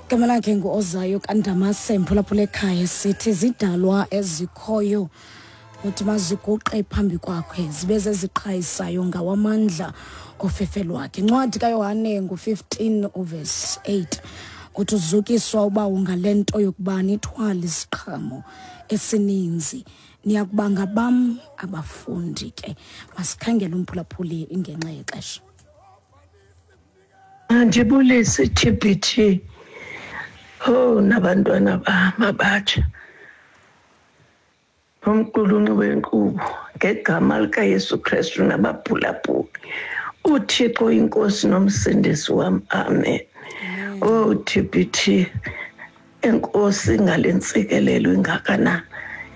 Igama lakhe nguOzayo kaNdamase, mphulaphula ekhaya. Sithi zidalwa ezikhoyo uthi maziguqe phambi kwakhe, zibe zeziqhayisayo ngawamandla ofefe lwakhe. Incwadi kaYohane ngu-15 uvesi 8 uthi uzukiswa ubawo ngale nto yokuba nithwale isiqhamo esininzi, niyakuba ngabam abafundi. Ke masikhangele umphulaphuli ingenxa yexesha. Andibulise TBT. Oh, nabantwana bam abatsha. Nomqulunqi wenkqubo ngegama likaYesu Kristu nabaphulaphuli. UThixo inkosi nomsindisi wam. Amen. Oh TBT, enkosi ngale ntsikelelo ingakanani.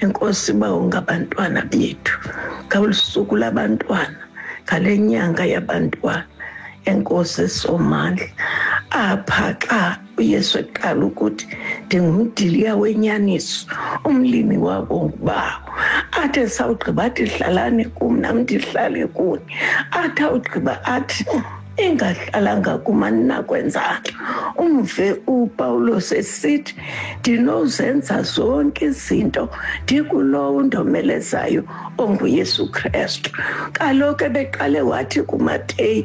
Enkosi bawo ngabantwana bethu. Ngolu suku labantwana, ngale nyanga yabantwana. Enkosi Somandla. Apha xa uYesu eqala ukuthi ndingumdiliya wenyaniso, umlimi wabo ngubawo. Athi esawugqiba athi hlalani kum nam ndihlale kuni. Athi awugqiba athi ingahlalanga kum aninakwenza nto. Umve uPawulos esithi ndinozenza zonke izinto ndikulowo undomelezayo onguYesu Kristu. Kaloku ebeqale wathi kuMateyu,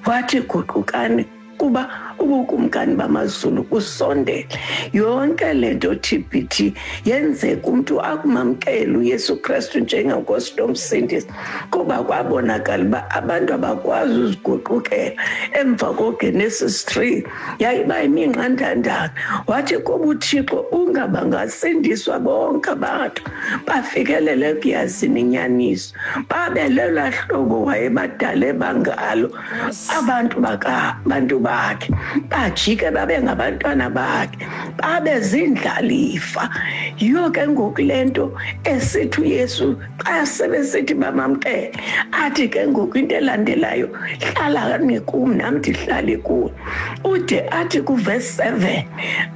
wathi guqukani kuba ubukumkani bamazulu kusondele. Yonke le nto TBT yenzeka umntu akumamkela uYesu Kristu njengenkosi nomsindisi, kuba kwabonakala uba abantu abakwazi uziguqukela. Emva koGenesis 3 yayiba imingqandandana, wathi kuba uThixo ungabangasindiswa bonke abantu bafikelele ekuyazini inyaniso, babe lelaa hlobo wayebadale bangalo abantu bantu bakhe, bajike babe ngabantwana bakhe, babe zindlalifa. Yiyo ke ngoku le nto esithi uYesu xa sebesithi bamamkele, athi ke ngoku into elandelayo, hlalani kum nam ndihlale kuni. Ude athi kuvesi 7,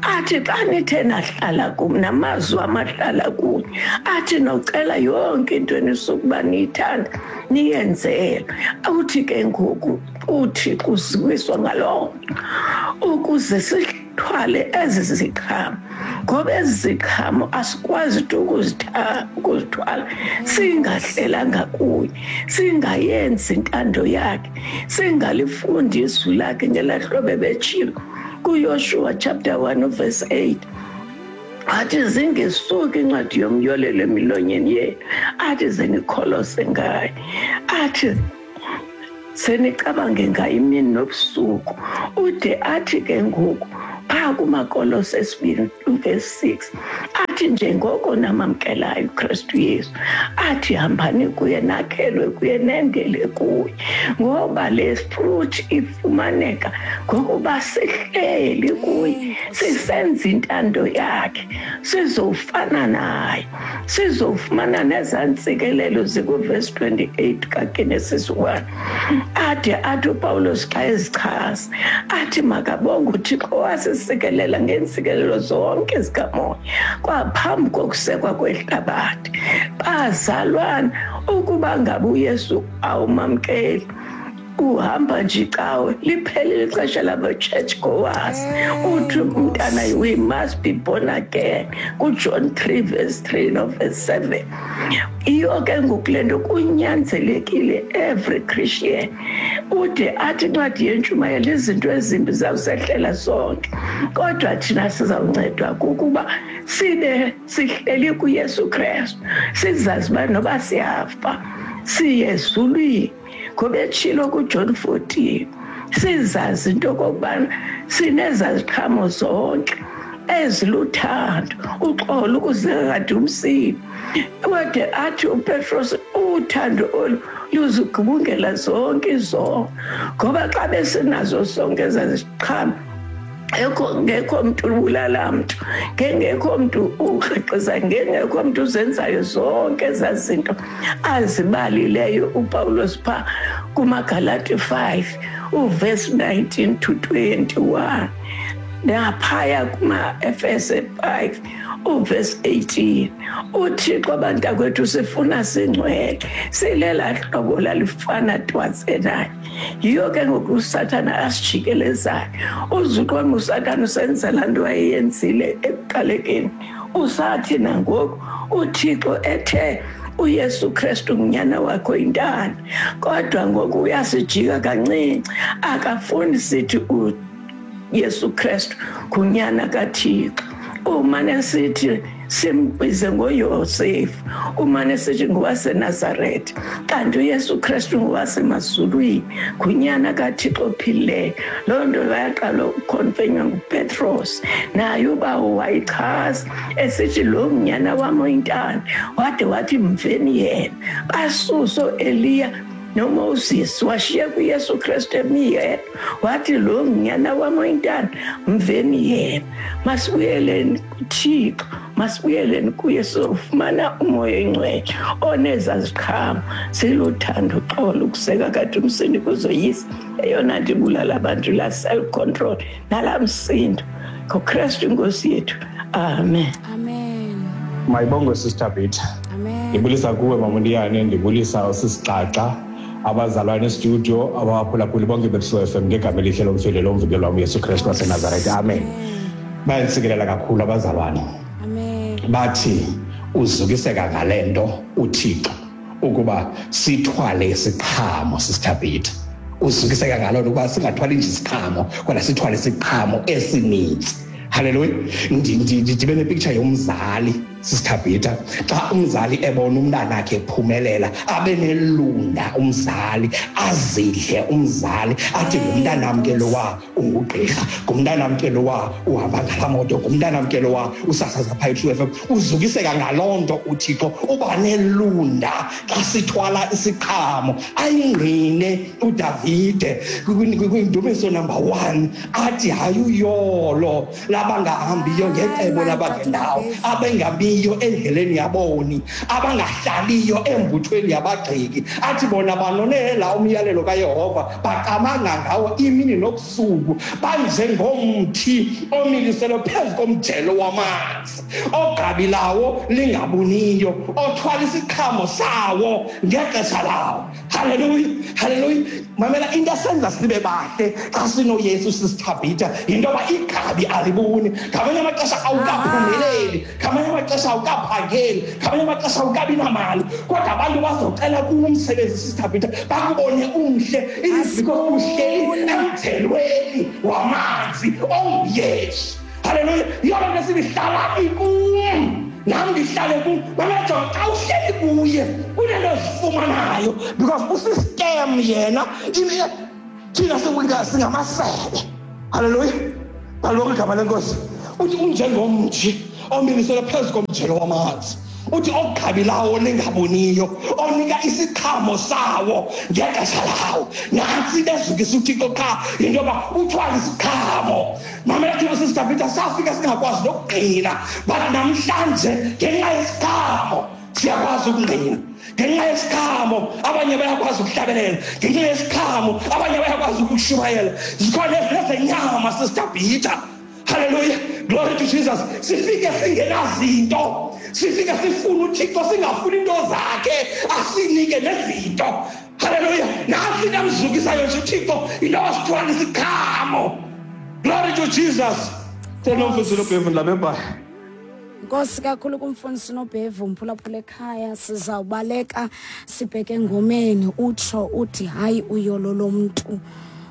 athi xa nithe nahlala kum namazwi amahlala kuni, athi nocela yonke into enisukuba niyithanda niyenzele. Uthi ke ngoku uThixo uziwiswa ngaloo nto ukuze sithwale ezi ziqhamo, ngoba ezi ziqhamo asikwazi tu ukuzithwala singahlelanga kuye, singayenzi intando yakhe, singalifundi izwi lakhe ngelaa hlobo ebetshilo kuYoshua chapter 1 verse 8. Athi zingesuki incwadi yomyolelo emilonyeni yenu, athi zenikholose ngayo, athi senicabange ngayo imini nobusuku. Ude athi ke ngoku phaa kumaKolose esibini verse 6, athi njengoko namamkelayo uKristu Yesu, athi hambani kuye, nakhelwe kuye, nendele kuye, ngoba le fruit ifumaneka ngokuba sihleli kuye, sisenza intando yakhe, sizofana naye, sizofumana nezaa ntsikelelo zikuvesi 28 kaGenesis 1. Ade athi uPawulos xa ezichaza, athi makabonge uThixo owasisikelela ngeentsikelelo zonke zikamoya kwaphambi kokusekwa kwehlabathi. Bazalwana, ukuba ngaba uYesu awumamkeli, uhamba nje icawe, liphelile ixesha labo church goers. Uthi umntana, we must be born again, kuJohn 3 verse 3 no verse 7. Iyo ke ngoku le nto kunyanzelekile every Christian. Ude athi incwadi yentshumayelo, izinto ezimbi zawusehlela sonke, kodwa thina sizawuncedwa kukuba sibe sihleli kuYesu Kristu, sizazi uba noba siyafa siye ezulwini, ngoba etshilo kuJohn 14, sizazi into okokubana sinezaziqhamo zonke eziluthando, uxolo, ukuzekade umsini. Wade athi uPetros, uthando olu luzigubungela zonke izono, ngoba xa besinazo zonke ezaziqhamo, ngekho mntu ubulala mntu, ngengekho mntu ukrexeza, ngengekho mntu uzenzayo zonke ezaa zinto azibalileyo uPawulos phaa kumaGalati 5 uverse 19 to 21. Naphaya kuma-Efese 5 uverse 18, uThixo abantakwethu sifuna singcwele, silela hlobo lalifana twatse naye. Yiyo ke ngoku uSathana asijikelezayo. Uzuqonga uSathana usenzela nto ayeyenzile ekuqalekeni. Usathi nangoku uThixo ethe uYesu Kristu ngunyana wakho intana, kodwa ngoku uyasijika kancinci, akafuni sithi uYesu Kristu ngunyana kaThixo. Umane sithi simbize ngoYosefu, umane sithi ngowaseNazaretha, kanti uYesu Kristu ngowasemazulwini, ngunyana kaThixo ophilileyo. Loo nto yaqala ukukhonfenywa nguPetros, naye ubawo wayichaza esithi lo ngunyana wam oyintana, wade wathi mveni yena. Basuso Eliya noMoses, washiya kuYesu Kristu emi yedwa, wathi lo ngunyana wam oyintana, mveni yena. Masibuyeleni kuThixo, masibuyeleni kuye, sizofumana umoya oyingcwele oneza ziqhamo siluthando, uxolo, ukuseka kade umsindo kuzoyisa. Eyona nto ibulala abantu la self control nalaa msindo. NgoKristu inkosi yethu, amen. Amen. Mayibongwe Sister Peter. Amen. Ndibulisa kuwe Mama Ndiyane, ndibulisa usisiXaxa, abazalwane estudio, abaphulaphuli bonke beTrue FM ngegama elihle lomfeli lomvikelo wam uYesu Kristu waseNazaretha. Amen. Bayandisikelela kakhulu abazalwane. Amen. Bathi uzukiseka ngale nto uThixo ukuba sithwale isiqhamo, Sister Peter. Uzukiseka ngaloo nto ukuba singathwali nje isiqhamo, kodwa sithwale isiqhamo esininzi. Hallelujah. Ndibe nepicture yomzali, Sister Peter. Xa umzali ebona umntana wakhe ephumelela, abe nelunda umzali, azidle umzali, athi ngumntanam ke lowa ungugqirha, ngumntanam ke lowa uhamba ngalaa moto, ngumntanam ke lowa usasaza phaa eTrue FM. Uzukiseka ngaloo nto uThixo, uba nelunda xa sithwala isiqhamo. Ayingqine uDavide kwindumiso number 1, athi hayi uyolo labangahambiyo ngecebo labangendawo, abengabiyo endleleni yaboni, abangahlaliyo embuthweni yabagxeki. Athi bona banonela umyalelo kaYehova, bacamanga ngawo imini nobusuku, banjengomthi omiliselwe phezu komjelo wamanzi, ogqabi lawo lingabuniyo, othwala isiqhamo sawo ngexesha lawo. Hallelujah, hallelujah. Mamela, into esenza sibe bahle xa sinoYesu sisithabhitha yinto yoba igqabi alibuni. Ngamanye amaxesha awukaphumeleli, ngamanye amaxesha awukaphangeli, ngamanye amaxesha awukabi namali, kodwa abantu bazocela kuwe umsebenzi sisithabhitha, bakubone umhle. It is because uhleli emthelweni wamanzi onguYesu. Hallelujah. Yiyo loo nto sithi hlalani kum, nam ndihlale kum. Mamela, jonga, xa uhleli kuye kunento ozifumanayo, because usistem yena. Thina singamasebe. Hallelujah. Kaloku igama lenkosi. Uthi unjengomthi omiliselwe phezu komjelo wamanzi, uthi ogqabi lawo lingaboniyo, onika isiqhamo sawo ngexesha lawo. Nantsi into ezukisa uThixo qha, yinto yoba uthwale isiqhamo. Mamela, thina Sister Peter, safika singakwazi nokugqina, but namhlanje ngenxa yesiqhamo siyakwazi ukungqina. Ngenxa yesiqhamo abanye bayakwazi ukuhlabelela, ngenxa yesiqhamo abanye bayakwazi ukushumayela. Zikhona nezenyama, Sister Peter. Hallelujah, glory to Jesus. Sifike singenazinto, sifike sifuna uThixo, singafuni into zakhe, asinike nezinto. Hallelujah. Nantsi into amzukisayo nje uThixo, into wasithwala isiqhamo. Glory to Jesus. Senomfundisi Nobhevu ndilapha eBhayi. Nkosi kakhulu kumfundisi Nobhevu, mphulaphula ekhaya. Sizawubaleka sibheke engomeni. Utsho uthi hayi uyolo lomntu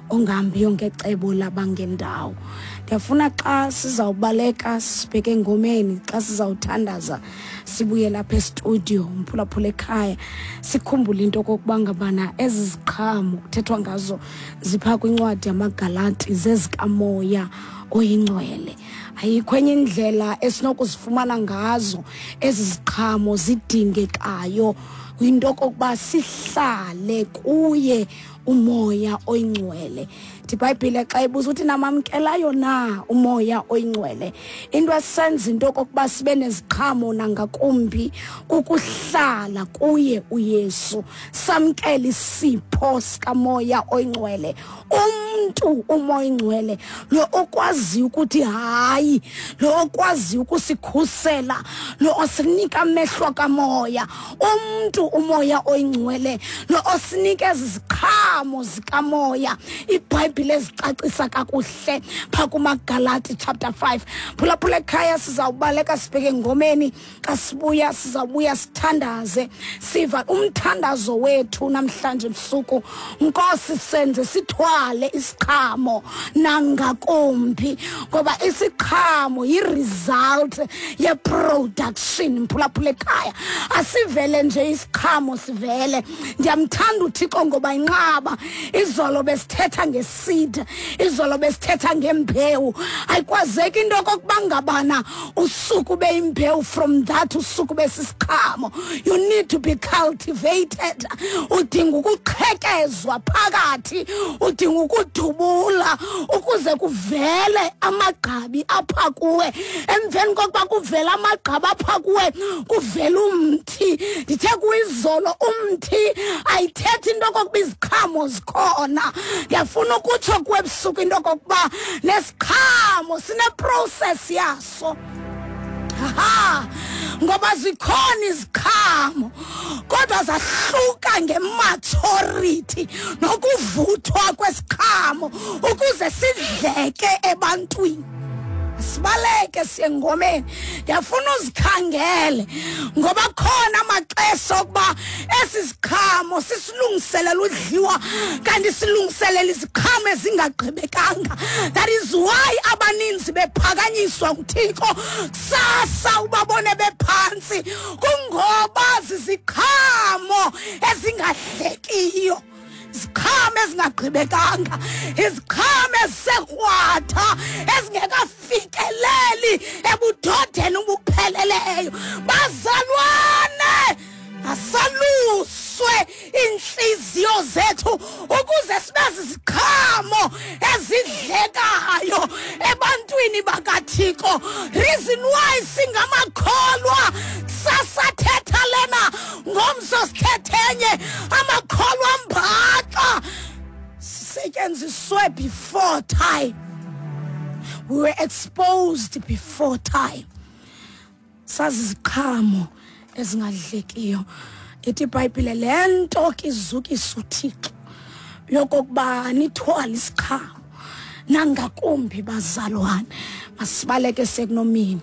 ongahambiyo ngecebo labangendawo. Ndiyafuna xa sizawubaleka sibheke engomeni, xa sizawuthandaza sibuye lapha estudio, mphulaphula ekhaya, sikhumbule into okokuba ngabana ezi ziqhamo kuthethwa ngazo zipha kwincwadi yamaGalati, zezikamoya oyingcwele. Ayikho enye indlela esinokuzifumana ngazo ezi ziqhamo zidingekayo, yinto okokuba sihlale kuye umoya oyingcwele. Ibhayibhile xa ibuza uthi namamkelayo na umoya oyingcwele, into esenza into okokuba sibe neziqhamo nangakumbi kukuhlala kuye uYesu, samkele isipho sikamoya oyingcwele. Umntu umoya oyingcwele lo okwaziyo ukuthi hayi, lo okwaziyo ukusikhusela, lo osinika amehlo kamoya, umntu umoya oyingcwele lo osinika ezi ziqhamo zikamoya iBhayibhile ezicacisa kakuhle phaa kumaGalati chapter 5. Phulaphula ekhaya, sizawubaleka sibheke engomeni. Xa sibuya sizawubuya sithandaze, siva umthandazo wethu namhlanje ebusuku. Nkosi, senze sithwale isiqhamo nangakumbi, ngoba isiqhamo yi-result ye-production. Mphulaphula ekhaya, asivele nje isiqhamo sivele. Ndiyamthanda uThixo ngoba inqaba. Izolo besithetha ngeseed, izolo besithetha ngembewu. Ayikwazeki into okokuba ngabana usuku beyimbewu, from that usuku besisiqhamo. You need to be cultivated. Udinga ukuqhekezwa phakathi, udinga ukudubula ukuze kuvele amagqabi apha kuwe. Emveni kokuba kuvele amagqabi apha kuwe, kuvele umthi. Ndithe kuyizolo, umthi ayithethi into okokuba iziqhamo zikhona. Ndiyafuna ukutsho kuwe ebusuku into okokuba nesiqhamo sineprocess yaso. Ha, ngoba zikhona iziqhamo kodwa zahluka ngematurity nokuvuthwa kwesiqhamo ukuze sidleke ebantwini. Sibaleke siye ngomeni. Ndiyafuna uzikhangele ngoba khona amaxesha okuba esi siqhamo sisilungiselela udliwa, kanti silungiselela iziqhamo ezingagqibekanga. That is why abaninzi bephakanyiswa nguThixo, kusasa ubabone bephantsi, kungoba ziziqhamo ezingadlekiyo, iziqhamo ezingagqibekanga, iziqhamo ezisekrwatha ezingekafikeleli ebudodeni obupheleleyo. Bazalwane, asaluswe iintliziyo zethu ukuze sibe ziziqhamo ezidlekayo ebantwini bakaThixo. Reason why singamakholwa, sasathetha lena, ngomso sithethenye, amakholwa mbaxa sisetyenziswe before time. We were exposed before time. Sazi iziqhamo ezingadlekiyo. Ithi iBhayibhile le nto ke izukisa uThixo yokokuba nithwale isiqhamo nangakumbi, bazalwane. Masibaleke sekunomini.